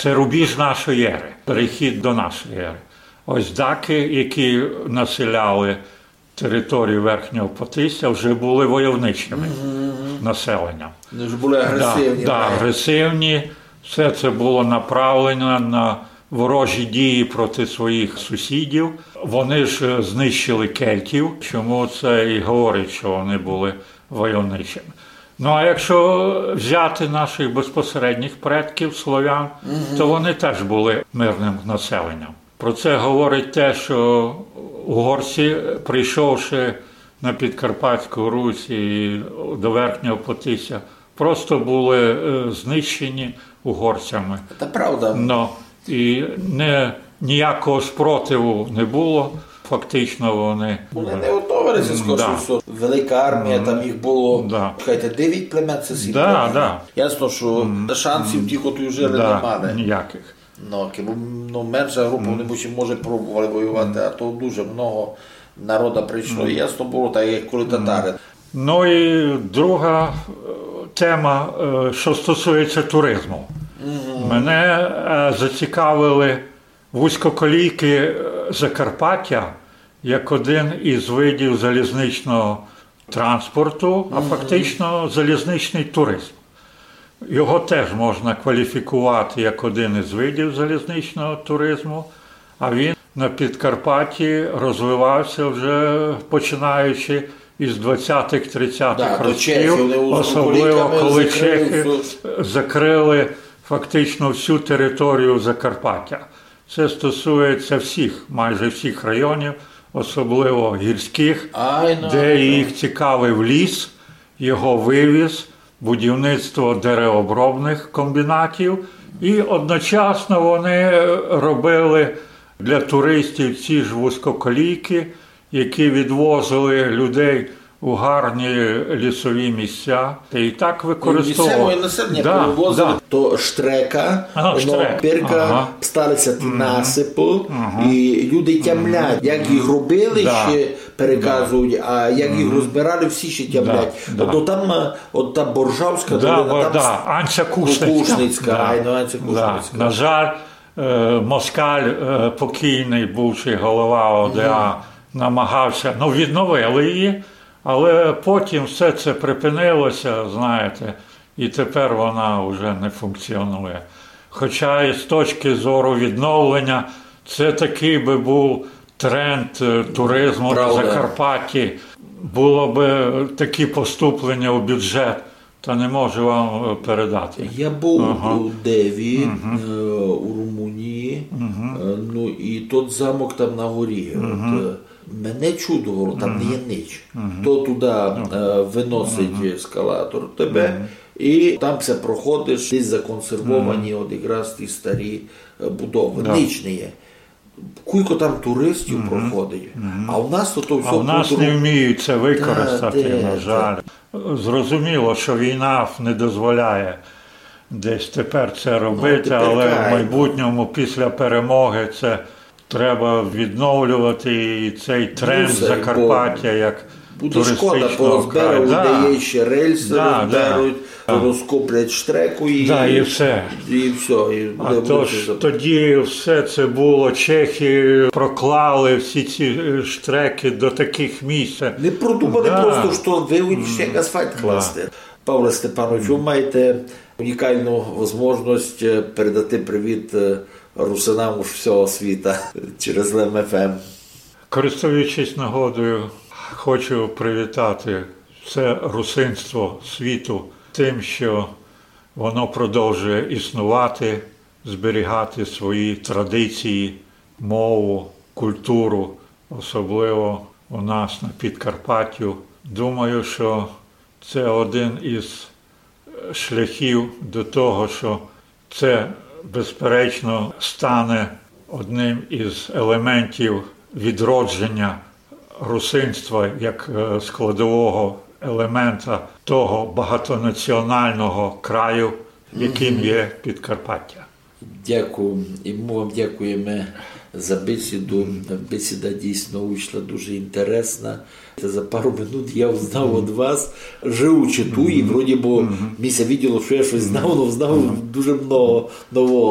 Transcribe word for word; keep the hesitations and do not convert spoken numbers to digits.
Це рубіж нашої ери, перехід до нашої ери. Ось даки, які населяли територію Верхнього Потисся, вже були войовничими населенням. Вони ж були агресивні. Да, да, агресивні. Все це було направлено на ворожі дії проти своїх сусідів. Вони ж е, знищили кельтів, чому це і говорить, що вони були войовничими. Ну а якщо взяти наших безпосередніх предків слов'ян, то вони теж були мирним населенням. Про це говорить те, що угорці, прийшовши на Підкарпатську Русь і до Верхнього Потисся, просто були е, знищені угорцями. Це правда. Ну, і не, ніякого спротиву не було, фактично вони... Вони не готовилися, скорше всього. Велика армія, там їх було, Да. Чекайте, дев'ять племен, це сім Да, племен. Да. Ясно, що шансів ті, котрі жили, не Да, мали. Ніяких. Ну, кибы, ну, менша група, вони може, може пробували воювати, а то дуже много народа прийшло. І ясно було, так як коли татари. Ну і друга е, тема, е, що стосується туризму. Мене е, зацікавили вузькоколійки е, Закарпаття як один із видів залізничного транспорту, а фактично залізничний туризм. Його теж можна кваліфікувати як один із видів залізничного туризму, а він на Підкарпатті розвивався вже починаючи із двадцятих-тридцятих Да, до років, Чехії, вони особливо вузькоколійками коли закрили чехи всю- закрили фактично всю територію Закарпаття. Це стосується всіх, майже всіх районів, особливо гірських, Ай, ну, де ну. Їх цікавив ліс, його вивіз, будівництво деревообробних комбінатів. І одночасно вони е, робили для туристів ці ж вузькоколійки, які відвозили людей у гарні лісові місця. І так використовували. Місцеве населення перевозили, то штрека, А, воно штрек. Пирка, Ага. Стали ся ті насыпы, і люди тямлять, як їх робили, Да. Ще переказують, а як їх розбирали, всі ще тямлять. Да, да. Тобто там е, от та Боржавська Да, долина, бо- там да, Анця Кушницька. Кушницька, Да. Айно, Анця Да. Кушницька. На жаль, е, Москаль, е, покійний, бувший голова О Д А, намагався, ну, відновили її, але потім все це припинилося, знаєте, і тепер вона вже не функціонує. Хоча і з точки зору відновлення, це такий би був тренд е, туризму Правда. На Закарпатті. Було би такі поступлення у бюджет, та не можу вам е, передати. Я був у Деві, е, у Румунії, е, ну і тот замок там на горі. От, е, мене чудувало, там не є нич. То туди е, виносить ескалатор тебе, і там все проходиш, десь законсервовані от якраз ті старі е, будови. Нич не є. Кулько там туристів проходить, а у нас то, то все... А у нас не вміють це використати, Та, де, на жаль. Зрозуміло, що війна не дозволяє десь тепер це робити, але в майбутньому, після перемоги, це треба відновлювати і цей тренд Закарпаття як Буде шкода, туристичного порозбирали краю. Людей, ще рельси розберуть, розкоплять штреку і, Да, і все. І все. І А то ж тоді все це було, чехи проклали всі ці е, штреки до таких місць. Не продумали просто, що ви ще асфальт класти. Павле Степанович, ви маєте унікальну можливість е, передати привіт е, русинам з всього світа через Лем Ф М. Користуючись нагодою, хочу привітати все русинство світу тим, що воно продовжує існувати, зберігати свої традиції, мову, культуру, особливо у нас на Підкарпаттю. Думаю, що це один із е, шляхів до того, що це, безперечно, стане одним із елементів відродження русинства як е, складового елемента того багатонаціонального краю, яким є Підкарпаття. Дякую. І ми вам дякуємо за бесіду. Бесіда дійсно вийшла дуже інтересна. Та за пару минут я узнав від вас, живучи ту, і вроді бо ми ся виділо, що я щось знав, но знав дуже много нового.